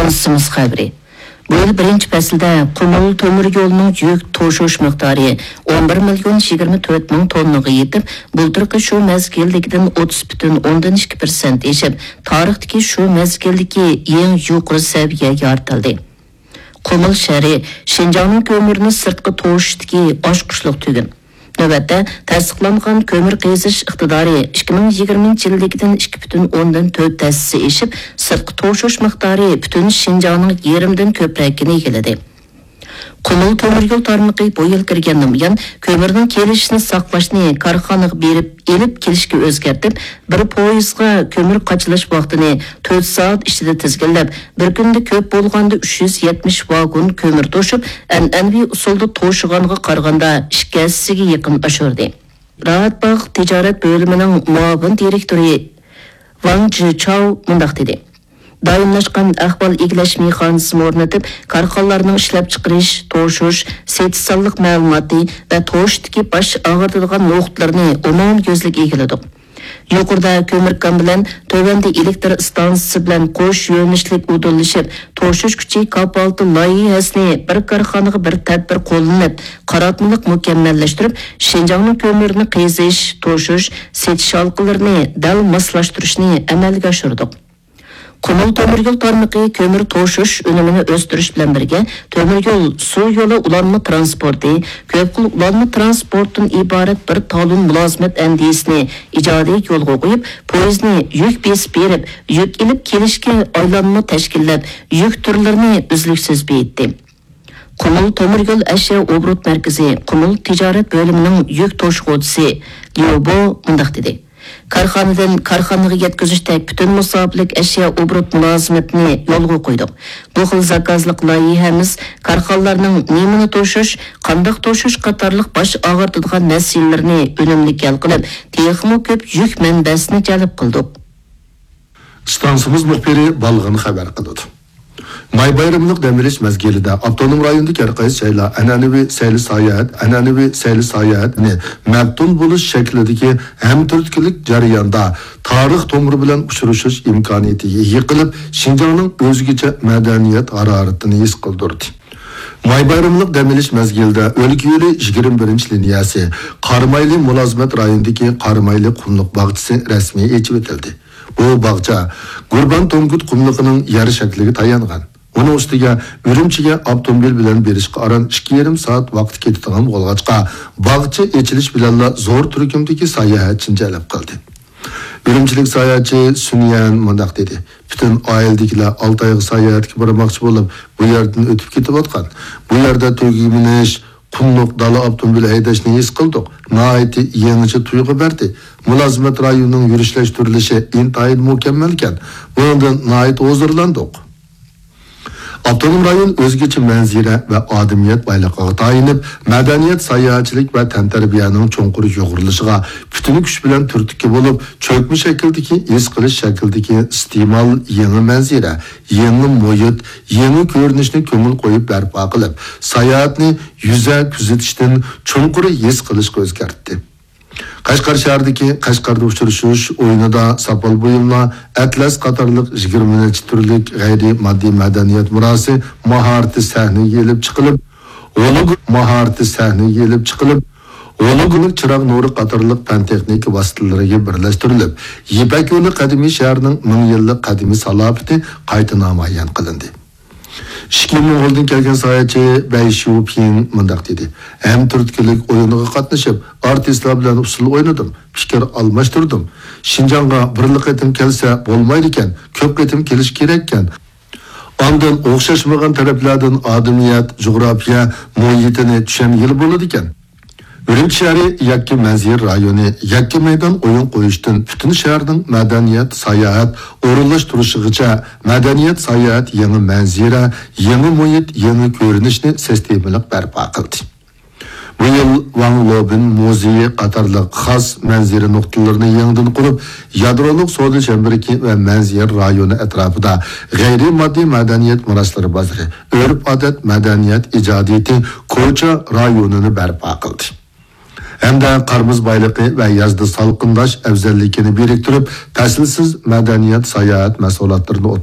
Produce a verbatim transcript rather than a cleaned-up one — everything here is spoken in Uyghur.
ئىستانسىمىز خەۋىرى. بۇ يىل بىرىنچى پەسىلدە قۇمۇل تۆمۈر يولىنىڭ يۈك توشۇش مىقدارى ئون بىر مىليون يىگىرمە تۆت مىڭ توننىغا يېتىپ، بۇلتۇرقى شۇ مەزگىلدىكىدىن ئوتتۇز پۈتۈن ئوندىن ئىككى پىرسەنت ئېشىپ، تارىختىكى شۇ مەزگىلدىكى ئەڭ يۇقىرى سەۋىيە يارىتىلدى. قۇمۇل شەھىرى شىنجاڭنىڭ كۆمۈرنى سىرتقا توشۇشتىكى ئاچقۇچلۇق تۈگۈن. نۆۋەتتە، تەستىقلانغان كۆمۈر قېزىش ئىقتىدارى ئىككى مىڭ يىگىرمىنچى يىلدىكىدىن ئىككى پۈتۈن ئوندىن تۆت ھەسسە ئېشىپ، سىرتقا توشۇش مىقدارى پۈتۈن شىنجاڭنىڭ يېرىمدىن كۆپرەكىنى ئىگىلىدى. قۇمۇل تۆمۈر يول تارمىقى بۇ يىل كىرگەندىن بۇيان، كۆمۈرنىڭ كېلىشىنى ساقلاشنى كارخانىغا بېرىپ ئېلىپ كېلىشكە ئۆزگەرتىپ، بىر پويىزغا كۆمۈر قاچىلاش ۋاقتىنى تۆت سائەت ئىچىدە تىزگىنلەپ، بىر كۈندە كۆپ بولغاندا ئۈچ يۈز يەتمىش ۋاگون كۆمۈر توشۇپ، ئەنئەنىۋى ئۇسۇلدا توشۇغانغا قارىغاندا ئىككى ھەسسىگە يېقىن ئاشۇردى. راھەتباغ تىجارەت بۆلۈمىنىڭ مۇئاۋىن دىرېكتورى ۋاڭ جىچاۋ مۇنداق دېدى: دائىملاشقان ئەھۋال ئىگىلەش مېخانىزمى ئورنىتىپ، كارخانىلارنىڭ ئىشلەپچىقىرىش، توشۇش، سېتىش سانلىق مەلۇماتى ۋە توشۇشتىكى باش ئاغرىتىدىغان نۇقتىلىرىنى ئومۇميۈزلۈك ئىگىلىدۇق. يۇقىرىدا كۆمۈر كان بىلەن تۆۋەندە ئېلېكتر ئىستانسىسى بىلەن قوش يۆنىلىشلىك ئۇدۇللىشىپ، توشۇش كۈچى كاپالىتى لايىھەسىنى بىر كارخانىغا بىر تەدبىر قوللىنىپ، قاراتمىلىق مۇكەممەللەشتۈرۈپ، شىنجاڭنىڭ كۆمۈرنى قېزىش، توشۇش، سېتىش ھالقىلىرىنى دەل ماسلاشتۇرۇشنى ئەمەلگە ئاشۇردۇق. قۇمۇل تۆمۈر يول تارمىقى كۆمۈر توشۇش ئۈنۈمىنى ئۆستۈرۈش بىلەن بىرگە، تۆمۈر يول، سۇ يولى ئۇلانما تىرانسپورتى، كۆپ خىل ئۇلانما تىرانسپورتتىن ئىبارەت بىر تالون مۇلازىمەت ئەندىزىسىنى ئىجادىي يولغا قويۇپ، پويىزنى يۈك بېسىپ بېرىپ، يۈك ئېلىپ كېلىشكە ئايلانما تەشكىللەپ، يۈك تۈرلىرىنى ئۈزلۈكسىز بېيىتتى. قۇمۇل تۆمۈر يول ئەشيا ئوبوروت مەركىزى، قۇمۇل تىجارەت بۆلۈمىنىڭ يۈك توشۇغۇچىسى ليۇ بو مۇنداق دېدى: كارخانىدىن كارخانىغا يەتكۈزۈشتەك پۈتۈن مۇساپىلىك ئەشيا ئوبوروت مۇلازىمىتىنى يولغا قويدۇق. بۇ خىل زاكازلىق لايىھەمىز كارخانىلارنىڭ نېمىنى توشۇش، قانداق توشۇش قاتارلىق باش ئاغرىتىدىغان مەسىلىلىرىنى ئۈنۈملۈك ھەل قىلىپ، تېخىمۇ كۆپ يۈك مەنبەسىنى جەلپ قىلدۇق. ئىستانسىمىز مۇخبىرى بالغىن خەۋەر قىلىدۇ. ماي بايرىملىق دەم ئېلىش مەزگىلىدە ئاپتونوم رايوندىكى ھەر قايسى جايلار ئەنئەنىۋى سەيلە ساياھەت، ئەنئەنىۋى سەيلە ساياھەتنى مەپتۇن بولۇش شەكلىدىكى ھەمتۈرتكىلىك جەرياندا تارىخ تومۇرى بىلەن ئۇچرىشىش ئىمكانىيىتىگە ئىگە قىلىپ، شىنجاڭنىڭ ئۆزگىچە مەدەنىيەت ھارارىتىنى ھېس قىلدۇردى. ماي بايرىملىق دەم ئېلىش مەزگىلىدە ئۆلكە يولى يىگىرمە بىرىنچى لىنىيەسى قارامايلى مۇلازىمەت رايونىدىكى قارامايلى قۇملۇق باغچىسى رەسمىي ئېچىۋېتىلدى. بۇ باغچە گۇربان تونگۇت قۇملۇقىنىڭ يەر شەكلىگە تايانغان. ئۇنىڭ ئۈستىگە ئۈرۈمچىگە ئاپتوموبىل بىلەن بېرىشقا ئاران ئىككى يېرىم سائەت ۋاقىت كېتىدىغان بولغاچقا، باغچە ئېچىلىش بىلەنلا زور تۈركۈمدىكى ساياھەتچىنى جەلپ قىلدى. ئۈرۈمچىلىك ساياھەتچى سۈنيەن مۇنداق دېدى: پۈتۈن ئائىلىدىكىلەر ئالتايغا ساياھەتكە بارماقچى بولۇپ، بۇ يەردىن ئۆتۈپ كېتىۋاتقان. بۇ يەردە تۈگمىنىش، قۇملۇق دالا ئاپتوموبىل ھەيدەشنى ھېس قىلدۇق. ناھايىتى يېڭىچە تۇيغۇ بەردى. مۇلازىمەت رايونىنىڭ يۈرۈشلەشتۈرۈلۈشى ئىنتايىن مۇكەممەلكەن. بۇنىڭدىن ناھايىتى ھۇزۇرلاندۇق. ئاپتونوم رايون ئۆزگىچە مەنزىرە ۋە ئادىمىيەت بايلىقىغا تايىنىپ، مەدەنىيەت، ساياھەتچىلىك ۋە تەنتەربىيەنىڭ چوڭقۇر يۇغۇرۇلۇشىغا پۈتۈن كۈچ بىلەن تۈرتكە بولۇپ، چۆكمە شەكىلدىكى، ھېس قىلىش شەكلىدىكى ئىستېمال، يېڭى مەنزىرە، يېڭى مۇھىت، يېڭى كۆرۈنۈشنى كۆڭۈل قويۇپ بەرپا قىلىپ، ساياھەتنى يۈزە كۆزىتىشتىن چوڭقۇر ھېس قىلىشقا ئۆزگەرتتى. قەشقەر شەھىرىدىكى قەشقەردە ئۇچرىشىش ئويۇنىدا ساپال بۇيۇملار، ئەتلەس قاتارلىق يىگىرمە نەچچە تۈرلۈك غەيرىي ماددىي مەدەنىيەت مىراسى ماھارىتى سەھنىگە ئېلىپ چىقىلىپ، ھولوگ-، ماھارىتى سەھنىگە ئېلىپ چىقىلىپ، ھولوگراممىك چىراغ نۇرى قاتارلىق پەن-تېخنىكا ۋاسىتىلىرىگە بىرلەشتۈرۈلۈپ، يىپەك يولى قەدىمىي شەھىرىنىڭ مىڭ يىللىق قەدىمىي سالاپىتى قايتا نامايان قىلىندى. ئىككى موڭغۇلدىن كەلگەن ساياھەتچى بەي شيۇپىڭ مۇنداق دېدى: ھەم تۈرتكىلىك ئويۇنىغا قاتنىشىپ، ئارتىسلار بىلەن ئۇسسۇل ئوينىدىم، پىكىر ئالماشتۇردۇم. شىنجاڭغا بىرلا قېتىم كەلسە بولمايدىكەن، كۆپ قېتىم كېلىش كېرەككەن. ئاندىن ئوخشاشمىغان تەرەپلەردىن ئادىمىيەت، جۇغراپىيە مۇھىتىنى چۈشەنگىلى بولىدىكەن. ئۈرۈمچى شەھىرى يەككە مەنزىرە رايونى، يەككە مەيدان ئويۇن قويۇشتىن پۈتۈن شەھەرنىڭ مەدەنىيەت، ساياھەت ئورۇنلاشتۇرۇشىغىچە، مەدەنىيەت، ساياھەت يېڭى مەنزىرە، يېڭى مۇھىت، يېڭى كۆرۈنۈشنى سىستېمىلىق بەرپا قىلدى. بۇ يىل ۋاڭ لوبىن مۇزېيى قاتارلىق خاس مەنزىرە نۇقتىلىرىنى يېڭىدىن قۇرۇپ، يادرولۇق سودا چەمبىرىكى ۋە مەنزىرە رايونى ئەتراپىدا غەيرىي ماددىي مەدەنىيەت مىراسلىرى بازىرى، ئۆرپ-ئادەت، مەدەنىيەت ئىجادىيىتى، كوچا رايونىنى بەرپا قىلدى. ھەمدە قار-مۇز بايلىقى ۋە يازدا سالقىنداش ئەۋزەللىكىنى بىرىكتۈرۈپ، پەسىلسىز مەدەنىيەت ساياھەت مەھسۇلاتلىرىنى ئوتتۇرىغا